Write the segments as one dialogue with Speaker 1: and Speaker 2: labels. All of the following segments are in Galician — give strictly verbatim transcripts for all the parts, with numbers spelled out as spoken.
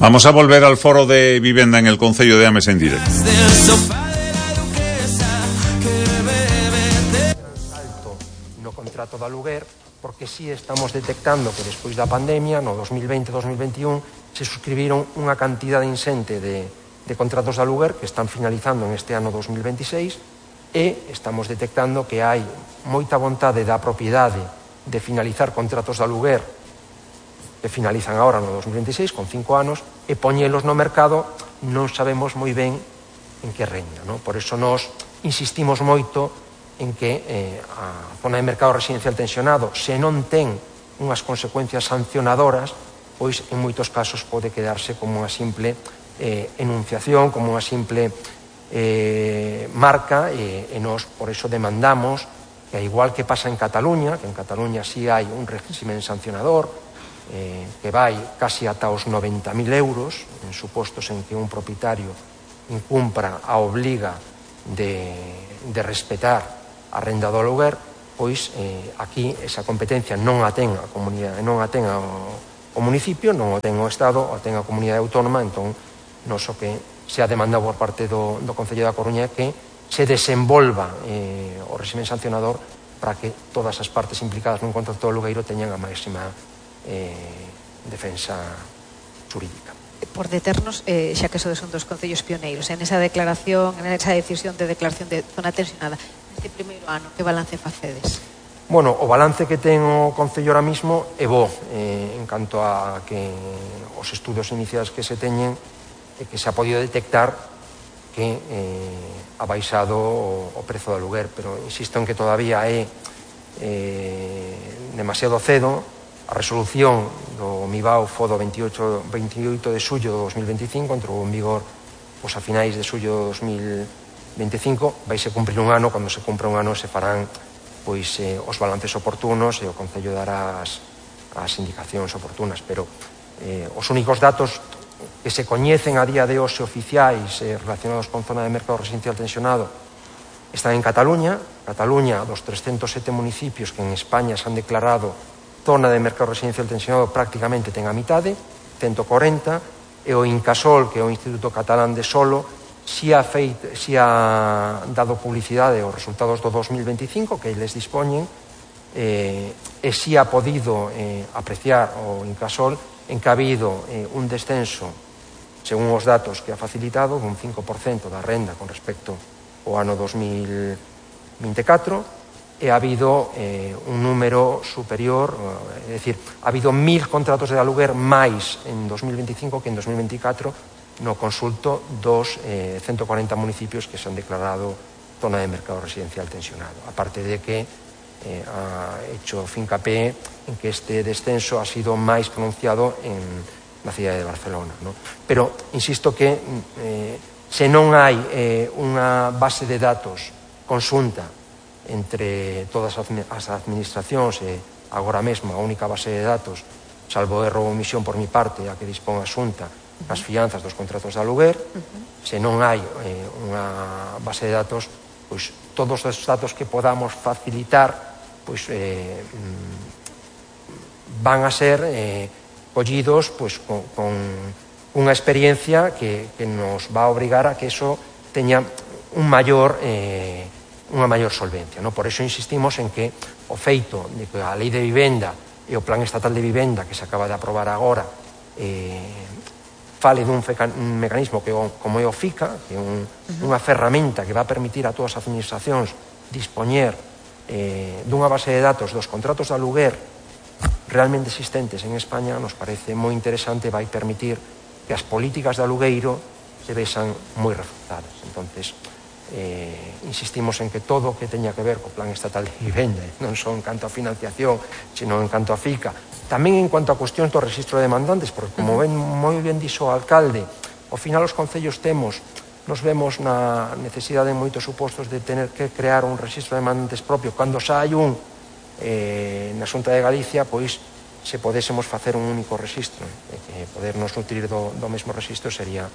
Speaker 1: Vamos a volver al foro de vivienda en el Concello de Ames en directo.
Speaker 2: Alto no contrato de aluguer, porque sí estamos detectando que despois da pandemia, no dos mil veinte dos mil veintiún, se suscribiron unha cantidade insente de, de contratos de aluguer que están finalizando en este ano dos mil veintiséis, e estamos detectando que hai moita vontade da propiedade de finalizar contratos de aluguer que finalizan agora no dos mil veintiséis, con cinco anos, e poñelos no mercado non sabemos moi ben en que reña, non? Por iso nós insistimos moito en que eh, a zona de mercado residencial tensionado, se non ten unhas consecuencias sancionadoras, pois en moitos casos pode quedarse como unha simple eh, enunciación, como unha simple eh, marca, e, e nós por iso demandamos que, igual que pasa en Cataluña, que en Cataluña sí hai un régimen sancionador, Eh, que vai casi ata os noventa mil euros en supostos en que un propietario incumpra a obliga de, de respetar a renda do aluguer, pois eh, aquí esa competencia non a ten a comunidade, non a ten o, o municipio, non o ten o Estado, o ten a comunidade autónoma. Entón, non so que se ha demandado por parte do, do Concello da Coruña que se desenvolva eh, o régimen sancionador para que todas as partes implicadas nun contrato de alugueiro teñan a máxima Eh, defensa xurídica.
Speaker 3: Por deternos, eh, xa que sodes un dos concellos pioneiros en esa declaración, en esa decisión de declaración de zona tensionada, neste primeiro ano, que balance facedes?
Speaker 2: Bueno, o balance que ten o Concello ahora mismo é bo, eh, en canto a que os estudos iniciais que se teñen e que se ha podido detectar que eh, ha baixado o, o prezo do aluguer, pero insisto en que todavía é eh, demasiado cedo. A resolución do MIBAO foi do veintiocho, veintioito de xullo de dos mil veinticinco, entrou en vigor pois, a finais de xullo de dos mil veinticinco. Vaise cumprir un ano, cando se cumpra un ano se farán pois, eh, os balances oportunos e o Concello dará as, as indicacións oportunas, pero eh, os únicos datos que se coñecen a día de hoxe oficiais eh, relacionados con zona de mercado residencial tensionado están en Cataluña. Cataluña, dos trescentos sete municipios que en España se han declarado zona de mercado residencial tensionado, prácticamente ten a mitade, ciento corenta, e o Incasol, que é o Instituto Catalán de Solo, si ha, feito, si ha dado publicidade aos resultados do dos mil veinticinco, que eles dispoñen, eh, e si ha podido eh, apreciar o Incasol en que ha habido eh, un descenso, según os datos que ha facilitado, dun cinco por cento da renda con respecto ao ano dos mil veinticatro, e ha habido eh, un número superior, é dicir, ha habido mil contratos de aluguer máis en dos mil veinticinco que en dos mil veinticatro no consulto dos eh, ciento corenta municipios que se han declarado zona de mercado residencial tensionado. Aparte de que eh, ha hecho fincapé en que este descenso ha sido máis pronunciado en la cidade de Barcelona, ¿no? Pero insisto que eh, se non hai eh, unha base de datos conxunta entre todas as administracións e agora mesmo a única base de datos, salvo erro ou omisión por mi parte, a que dispón a Xunta, as fianzas dos contratos de aluguer, se non hai eh, unha base de datos, pois todos os datos que podamos facilitar pois eh, van a ser eh, collidos pois, con, con unha experiencia que, que nos va a obrigar a que eso teña un maior eh, unha maior solvencia, no? Por iso insistimos en que o feito de que a Lei de Vivenda e o Plan Estatal de Vivenda que se acaba de aprobar agora eh, fale dun un mecanismo que como é o FICA, que é un, uh-huh. unha ferramenta que va a permitir a todas as administracións dispoñer eh, dunha base de datos dos contratos de aluguer realmente existentes en España, nos parece moi interesante, vai permitir que as políticas de alugueiro se vexan moi reforzadas. Entonces, Eh, insistimos en que todo o que teña que ver co Plan Estatal de Vivenda, non só en canto a financiación, sino en canto a FICA, tamén en cuanto a cuestións do registro de demandantes, porque como ben, moi ben dixo o alcalde, ao final os concellos temos, nos vemos na necesidade en moitos supostos de tener que crear un registro de demandantes propio, cando xa hai un eh, na Xunta de Galicia, pois se podésemos facer un único registro, e que podernos nutrir do, do mesmo registro sería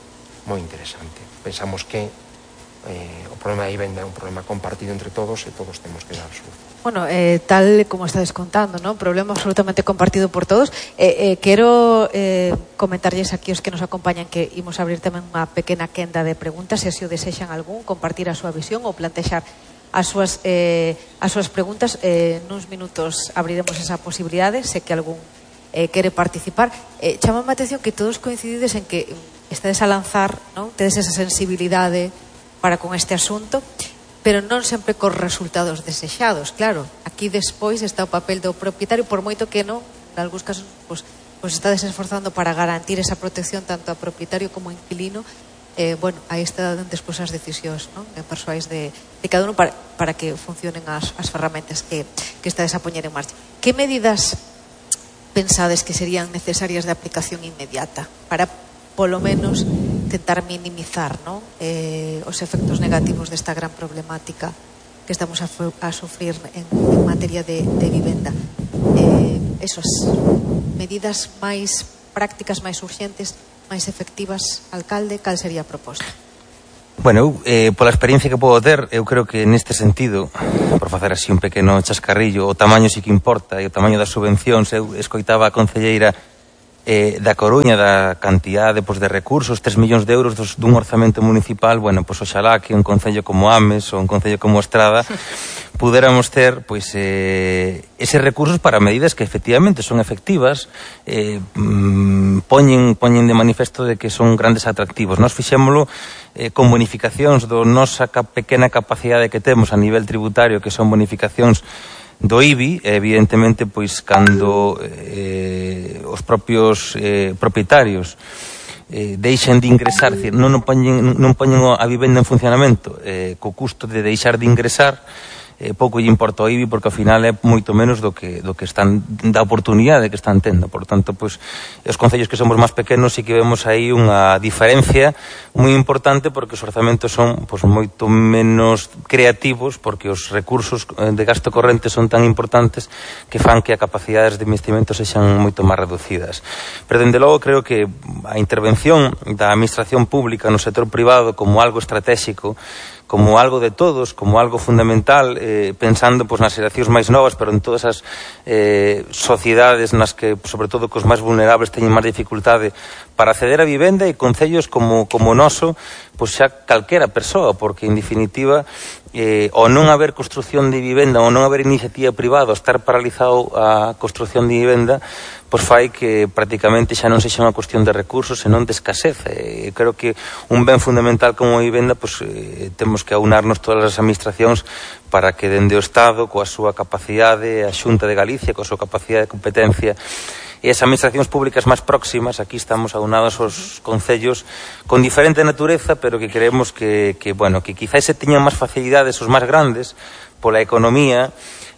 Speaker 2: moi interesante. Pensamos que eh, o problema da vivenda é un problema compartido entre todos e todos temos que dar solución.
Speaker 3: Bueno, eh, tal como estades contando, ¿no? Problema absolutamente compartido por todos. Eh, eh, quero eh, comentarlles aquí os que nos acompañan que imos abrir tamén unha pequena quenda de preguntas, se así o desexan algún, compartir a súa visión ou plantexar as súas, eh, as súas preguntas. Eh, nuns minutos abriremos esa posibilidade, se que algún eh, quere participar. Eh, chamame a atención que todos coincidides en que estades a lanzar, ¿no? Tedes esa sensibilidade para con este asunto, pero non sempre cos resultados desexados. Claro, aquí despois está o papel do propietario, por moito que non, en algúns casos, pues, pues estades esforzando para garantir esa protección tanto a propietario como a inquilino. Eh, bueno, aí está despois as decisións, non? Persoais de, de cada uno para, para que funcionen as, as ferramentas que, que estades a poñer en marcha. Que medidas pensades que serían necesarias de aplicación inmediata para, polo menos, tentar minimizar, ¿no? eh, os efectos negativos desta gran problemática que estamos a, a sufrir en, en materia de, de vivenda? Eh, esas medidas máis prácticas, máis urgentes, máis efectivas, alcalde, cal sería a proposta?
Speaker 4: Bueno, eu, eh, pola experiencia que podo ter, eu creo que neste sentido, por facer así un pequeno chascarrillo, o tamaño sí que importa, e o tamaño das subvencións. Eu escoitaba a concelleira Eh, da Coruña, da cantidade pues, de recursos, tres millóns de euros dos, dun orzamento municipal. Bueno, pois pues, oxalá que un concello como Ames ou un concello como Estrada pudéramos ter pois, eh, eses recursos para medidas que efectivamente son efectivas, eh, mm, poñen, poñen de manifesto de que son grandes atractivos. Nós fixémolo eh, con bonificacións do nosa pequena capacidade que temos a nivel tributario, que son bonificacións do I B I, evidentemente, pois, cando eh, os propios eh, propietarios eh, deixen de ingresar, decir, non, non, poñen, non poñen a vivenda en funcionamento eh, co custo de deixar de ingresar, eh, pouco lle importa o I B I, porque ao final é moito menos do que, do que están, da oportunidade que están tendo. Por tanto, pois, os concellos que somos máis pequenos sí que vemos aí unha diferencia moi importante, porque os orzamentos son pois, moito menos creativos, porque os recursos de gasto corrente son tan importantes que fan que a capacidades de investimento sexan moito máis reducidas. Pero, dende logo, creo que a intervención da administración pública no sector privado como algo estratégico, como algo de todos, como algo fundamental, eh, pensando pois, nas xeracións máis novas, pero en todas as eh, sociedades nas que, sobre todo, cos máis vulnerables teñen máis dificultade para acceder a vivenda, e concellos como, como o noso, pois xa calquera persoa, porque, en definitiva, eh, o non haber construción de vivenda, o non haber iniciativa privada, o estar paralizado a construción de vivenda, pois fai que prácticamente xa non sexa unha cuestión de recursos, senón de escasez. E creo que un ben fundamental como a vivenda, pois eh, temos que aunarnos todas as administracións para que dende o Estado, coa súa capacidade, a Xunta de Galicia, coa súa capacidade de competencia, e as administracións públicas máis próximas, aquí estamos aunados os concellos con diferente natureza, pero que creemos que, que bueno, que quizás se teñan máis facilidades os máis grandes pola economía,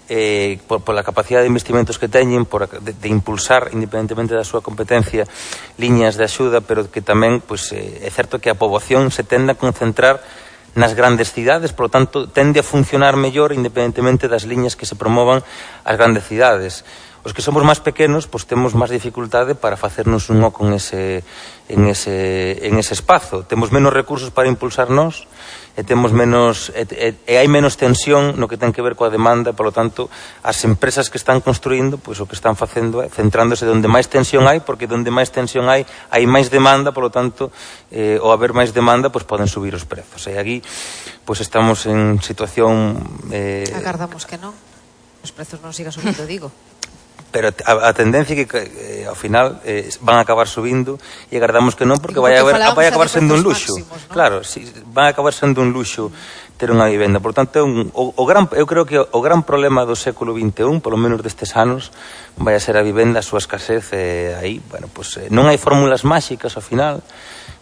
Speaker 4: eh, por, por la capacidade de investimentos que teñen, por, de, de impulsar, independentemente da súa competencia, liñas de axuda, pero que tamén, pues, eh, é certo que a poboación se tende a concentrar nas grandes cidades, por lo tanto, tende a funcionar mellor independentemente das liñas que se promovan as grandes cidades. Os que somos máis pequenos, pois temos máis dificultade para facernos un oco en ese, en ese, en ese espazo. Temos menos recursos para impulsar nós, e temos menos e, e, e hai menos tensión no que ten que ver coa demanda, por lo tanto, as empresas que están construindo, pois o que están facendo é centrándose onde máis tensión hai, porque onde máis tensión hai, hai máis demanda, por lo tanto, eh, ao haber máis demanda, pois poden subir os prezos. E aquí, pois estamos en situación...
Speaker 3: Eh... Agardamos que non. Os prezos non sigan subindo, digo.
Speaker 4: Pero a, a tendencia é que eh, ao final eh, van a acabar subindo, e agardamos que non, porque vai a, haber, vai a acabar sendo un luxo, máximos, ¿no? Claro, si, van a acabar sendo un luxo ter unha vivenda. Por tanto, un, o, o gran, eu creo que o gran problema do século vinte e un, polo menos destes anos, vai a ser a vivenda, a súa escasez, e eh, aí, bueno, pues, eh, non hai fórmulas máxicas ao final,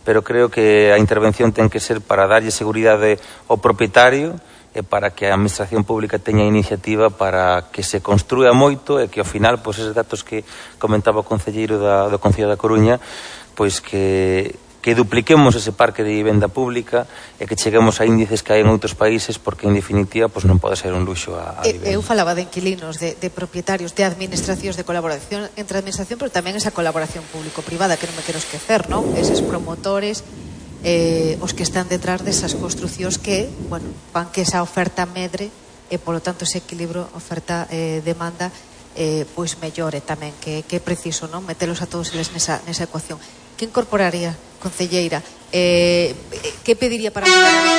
Speaker 4: pero creo que a intervención ten que ser para darlle seguridade ao propietario, e para que a administración pública teña iniciativa para que se construa moito, e que ao final, pois, eses datos que comentaba o concelleiro da, do Concello da Coruña, pois que, que dupliquemos ese parque de vivenda pública e que cheguemos a índices que hai en outros países, porque en definitiva pois non pode ser un luxo a, a vivenda.
Speaker 3: Eu falaba de inquilinos, de, de propietarios, de administracións, de colaboración entre a administración, pero tamén esa colaboración público-privada, que non me quero esquecer, non? Eses promotores eh, os que están detrás desas construcións que, bueno, van que esa oferta medre e, polo tanto, ese equilibrio oferta-demanda eh, pois mellore tamén, que, que é preciso, non? Metelos a todos eles nesa, nesa ecuación. Que incorporaría, concelleira? Eh, que pediría para mellorar